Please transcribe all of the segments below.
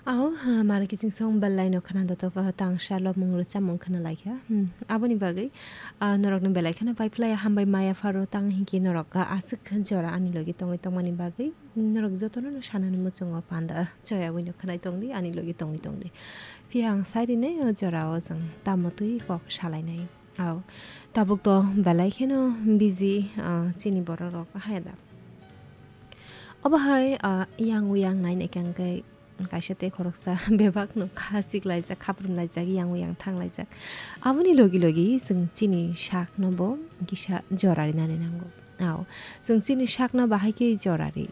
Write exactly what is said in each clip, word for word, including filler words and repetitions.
Aho, ha, mara kiching song belai no khna dotok, ah, tang salo mung rwchapmung khna laikha. Hmm, aboni bagwi, ah, norokno belai kheno pai phlai hambai maya pharo tang hinki norok, ah, aswk jora ani logi tongwi tongmani bagwi norok jotono no sanani muchungo panda choyawi no khnai tongdi ani logi tongwi tongdi. Phiya ang sai rinai o jora o chwng tamo twi kok salainai. Aw, tabuk to belai kheno busy, ah, chini borok rok hai da. Obo hai, ah, yang uyang nai nai kang khe kaisa tei khoroksa bebak no kha sik laijak, khaprum laijak, yang uyang thang laijak. Aboni logi logi chwng chini sak no bo kisa jora rinani nango. Aw, chwng chini sak no bahai khe jora ri.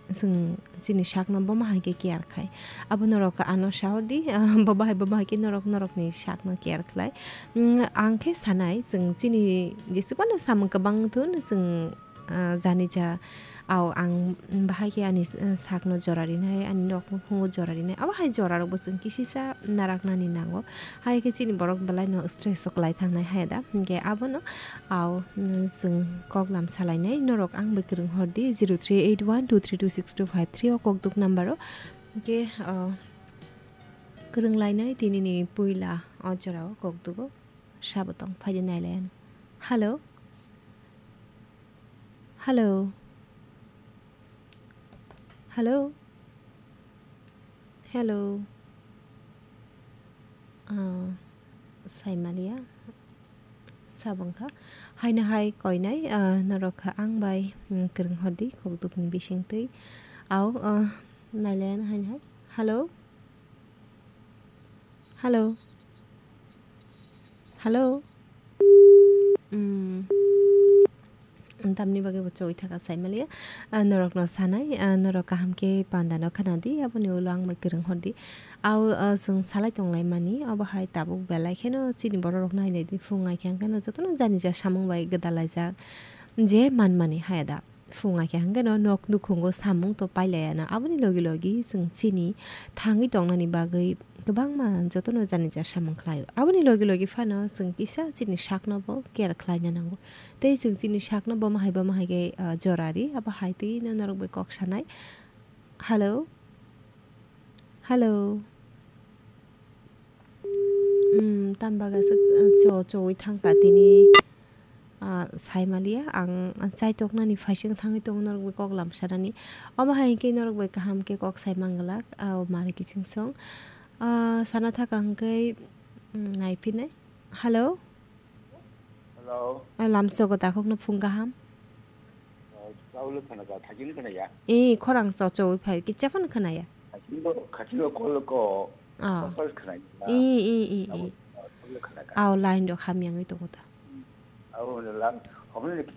Chwng chini sakno bo ma hai khe care khai. Abo norok ano sahor di, ah, bo bahai, bo bahai khe norok, norokni sakno care khlai. Mm, ang khe sanai, chwng chini jesubano samung kwbang thun, chwng, ah, jani ja, aw, ang bahai khe ani, ah, sakno jora rinai, ani nok nukhungo jora rinai. Abo hai jora rokbo chwng kisisa naraknani nango. Hai khe chini borok belai no stress o kwlai thangnai hai da. Hinkhe abono, aw, mm, chwng kok lam salainai, norok ang bai kwrwng hor di, zero three eight one two three two six two five three o kokduk number o. Hinkhe, ah, kwrwng lainai tini ni puila o jora o kokduk o sabo tong phai di nai lai ano. Hello? Hello? Hello? Hello. Ah, Saimalia. Sabang kha. Haino hai koinai, ah, norok kha ang bai, mm, kwrwng hor di, kokduk ni bising twi. Aw, ah, nailayan haino hai. Hello. Hello. Hello. Mm. Tamni bagwi bo choi thaka sai maliya. Ah, norokno sanai, ah, norok kaham khe panda no khna di, aboni ulo ang bai kwrwng hor di. Aw, ah, chwng salai tong lai mani, obo hai tabuk belai kheno chini borok rok nai nai di, phung ai khe ang kheno jotono jani ja samung bai gwdal laijak. Je man mani hai da. Phung ai khe hwnkhe no nok nukhungo samung to pailaiya na. Aboni logi logi chwng chini thangwi tongnani bagwi kwbangma jotono jani ja samung khlaio. Aboni logi logi phano chwng kisa chini sakno bo care khlaina nango. Tei chwng chini sakno bomo hai bomo hai khe, ah, jora ri, abo hai twi no norok bai kok sanai. Hello? Hello? Hmm, tam baga se, eh, cho, chowi thangka tini, ah, sai maliya. Ang, ang chai toknani phaising thangwi tongo norok bai kok lam sanani. Omo hai khe norok bai kaham khe kok sai manglak, ah, mari kiching song. Ah, sana thaka hwnkhe, hmm, nai phinai. Hello? Hello. Ah, lamsogo takhukno phung kaham. Oh, chaulo khana ka, khajin khana ya. Eh, khorang cho chowi phai, kicha phano khana ya. Khajin bo, khajin bo kol ko. Ah. Kol khana ya. Eh, eh, eh, eh. Chaulo khana ka. Aw, line do kham yang itu kota. Hmm. Aw, lam, homne kicha